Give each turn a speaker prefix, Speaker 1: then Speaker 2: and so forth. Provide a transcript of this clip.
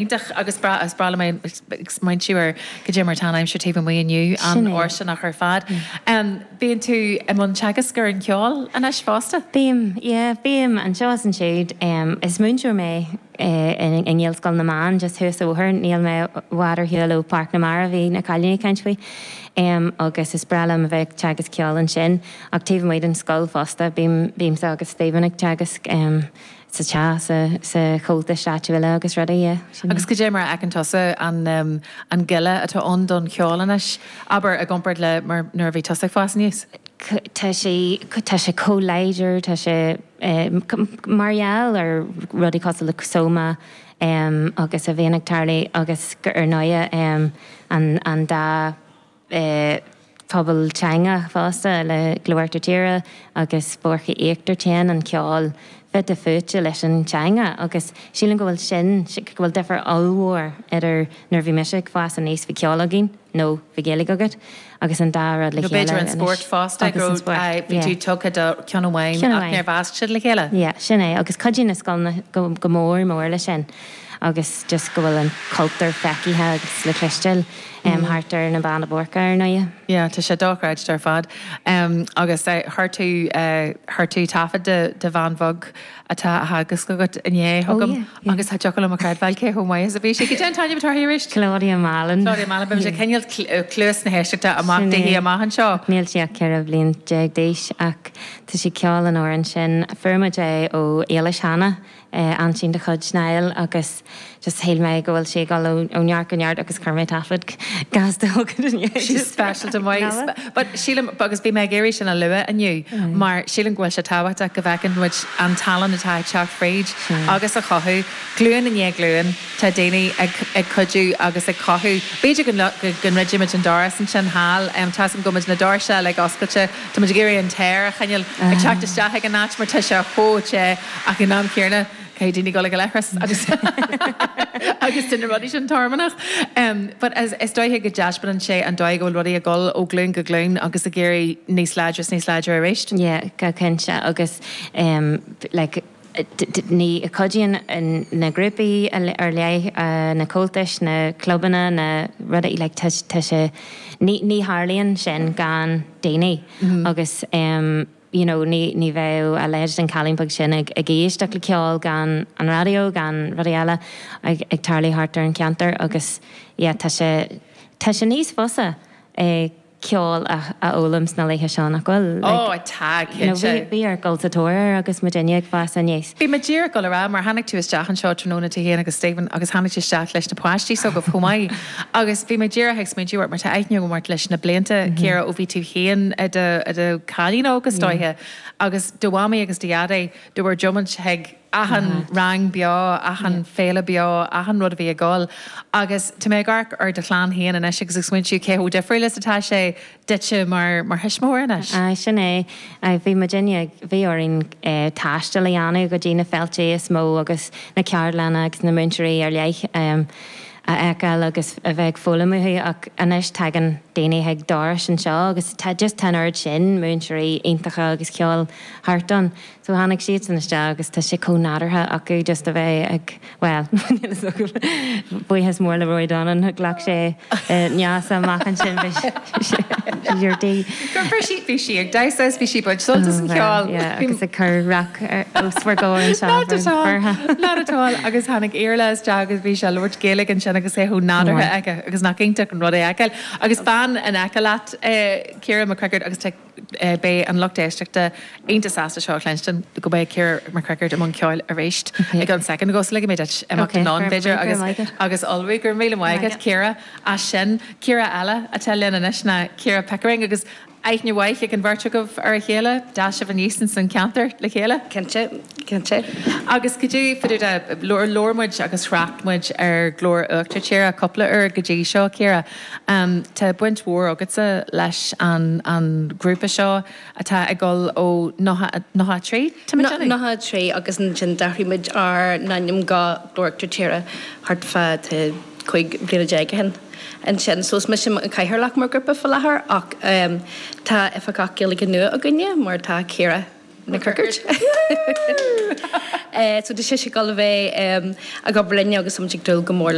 Speaker 1: Iontach agus breá, is breá liom é ag smaointiú ar cad é mar atá an aimsir taobh amuigh inniu,
Speaker 2: Sin é.
Speaker 1: an-fhóirsteanach ar fad. Bíonn tú i mbun teagasc ar an cheol anois fosta?
Speaker 2: Bím, yeah, bím anseo is ansiúd. Is múinteoir mé i nGaelscoil na mBan just thuas an bóthar, níl mé i bhfad ar shiúl ó Pháirc na Mara a bhí na cailíní ag caint faoi. Agus is breá liom a bheith ag teagasc ceoil ansin ach taobh amuigh den scoil fosta, bím, bímse agus Stephen ag teagasc. sa teach, sa chomhaltais áitiúla agus rudaí, yeah,
Speaker 1: sin é. Agus cad é mar a fheiceann tusa an an goile atá ann don cheol anois, abair, i gcomparáid le mar nuair a bhí tusa ag fás aníos?
Speaker 2: Tá sé, tá sé chomh láidir, tá sé mar gheall ar rudaí cosúil le Soma agus a bhíonn ag tarlú agus ar ndóighe an an dá pobal teanga fosta le Glór Íochtar Tíre agus Boirche Íochtar Téann an ceol fite fuaite leis an teanga agus sílim go bhfuil sin, go bhfuil difear ollmhór idir nuair a bhí mise ag fás aníos bhí ceol againn nó bhí Gaeilge agat agus an dá rud le
Speaker 1: Nó
Speaker 2: chéile
Speaker 1: b'fhéidir an
Speaker 2: anois
Speaker 1: spórt fosta,
Speaker 2: agus
Speaker 1: go
Speaker 2: an spórt,
Speaker 1: raibh, bhí
Speaker 2: yeah.
Speaker 1: tú tugtha do cheann amháin
Speaker 2: Ceann
Speaker 1: ach
Speaker 2: amháin.
Speaker 1: níor mheasc siad le chéile.
Speaker 2: Yeah, sin é agus cuidíonn na scoileanna go go mór mór leis sin agus just go bhfuil an cultúr feicthe agus le cloisteáil. Thart ar na Beanna Boirche, ar ndóighe.
Speaker 1: Yeah, tá sé dochreidte ar fad. Agus chuir tú, chuir tú taifead de do bhean bheag atá á theagasc agat inné chugam agus cha dtiocfadh liom a chreidbheáil cé chomh maith is a bhí sí. Cad é an t-ainm atá uirthi arís?
Speaker 2: Claudia Mallon.
Speaker 1: Claudia Mallon. Beidh muid ag coinneáil cluas na héisteachta amach daoithi amach anseo.
Speaker 2: Níl sí ach 14 bhliain d'aois ach tá sí ag ceol an amhrán sin. Fuair muid é ó Éilis Hanna. aintín de chuid Niall agus just shíl mé go bhfuil sí ag dul ó neart go neart agus chuir mé taifead gasta chugat inné.
Speaker 1: She's speisialta maith. But sílim, agus bhí mé ag iarraidh sin a lua inniu mar sílim go bhfuil sé tábhachtach go bhfeiceann muid an tallann atá ag teacht fríd agus a chothú. Glúin i ndiaidh glúin tá daoine ag ag cuidiú agus ag cothú. B'fhéidir go go ndruidfidh muid an doras ansin thall. Tá 'fhios agam go bhfuil muid na doirse uilig oscailte. Tá muid ag iarraidh an t-aer a choinneáil ag teacht isteach ag an áit mar tá sé chomh te. Ach ag an am céanna, caithfidh daoine dul ag an leithreas agus agus tá na rudaí sin tormannach. But is is dóiche go dtaispeánann sé an dóigh go bhfuil rudaí ag dul ó ghlúin go glúin agus ag éirí níos láidre is níos láidre arís.
Speaker 2: Yeah, go cinnte agus like ní cuidíonn na grúpaí ar leith, na comhaltais, na clubanna, na rudaí like tá tá sé ní ní tharlaíonn sin gan daoine agus you know ní ní bheadh a leithéid den cailín beag sin ag ag éisteacht le ceol gan an raidió, gan rudaí eile ag ag tarlú thart ar an cheantar agus yeah tá sé tá sé níos fusa eh ceol a a fhoghlaim sna laetha seo nach bhfuil?
Speaker 1: Like, Oh tá,
Speaker 2: you know
Speaker 1: cinnte.
Speaker 2: bhí bhí ort dul sa tóir air agus muidinne ag fás aníos.
Speaker 1: Bhí mé díreach ag dul a rá mar tháinig tú isteach anseo tráthnóna tú féin agus Stephen agus tháinig tú isteach leis na páistí s'agaibh chomh maith Agus bhí mé díreach ag smaointiú ort mar tá aithne agam ort leis na blianta, Ciara, ó bhí tú féin i do, i do chailín óg is dóiche, agus do mhamaí agus do dhaidí, do bhur dtiomáint chuig achan rang beo, achan féile beo, achan rud a bhí ag dul. Agus tá mé ag amharc ar do chlann féin anois agus ag smaointiú cé chomh difriúil is atá sé duitse mar, mar thuismitheoir anois.
Speaker 2: Aye, sin é. Aye, bhí muidinne ag, bhí orainn taisteal a dhéanamh go dtí na féilte is mó agus na ceardlanna agus na múinteoirí ar leith. a fheiceáil agus a bheith ag foghlaim uathu ach anois tagann daoine chuig dorais anseo agus tá just tá an oiread sin múinteoirí iontacha agus ceoil thart ann so tháinig siadsan isteach agus tá sé chomh nádúrtha acu just a bheith ag bhuel níl fhios agam buíochas mór le Rory Donnan ghlac sé Neasa amach ansin bhí sé ar tí.
Speaker 1: Gur bhí bhí sí ag damhsa is bhí sí ag baint sult as an cheol.
Speaker 2: Yeah agus ag cur rac os bhur gcomhair anseo.
Speaker 1: Not at all, not at all. Agus tháinig Iarla isteach agus bhí sé ag labhairt Gaeilge ansin agus é chomh nádúrtha aige agus nach iontach an rud é a fheiceáil. Agus bean in aice leat, Ciara McCrickard agus tá beidh an lucht éisteachta iontach sásta seo a chluinstin go mbeidh Ciara McCrickard i mbun ceoil arís i gceann soicind nó dhó so ligfidh mé duit imeacht anonn b'fhéidir agus agus ullmhú. Go raibh míle maith agat Ciara as sin. Ciara eile atá linn anois ná Ciara Pickering agus aithne mhaith ag an bheirt agaibh ar a chéile, d'fhás sibh aníos ins an cheantar le chéile.
Speaker 3: Cinnte, cinnte.
Speaker 1: Agus cad é fá dtaobh de, labhair muid agus thrácht muid ar Ghlór Uachtar Tíre cúpla uair go dtí seo, Ciara. Tá baint mhór agatsa leis an an ghrúpa seo atá ag dul ó 93, tá mé ag déanamh?
Speaker 3: 93 agus ansin d'athraigh muid ár n-ainm go Glór Uachtar Tíre thart fá 15 bliana ó shin ansin. So is mise an cathaoirleach mar ghrúpa faoi láthair ach tá oifigeach Gaeilge nua againne mar tá Ciara. Nic Riocaird. So tá sise ag dul a bheith ag obair linne agus táimid ag dúil go mór.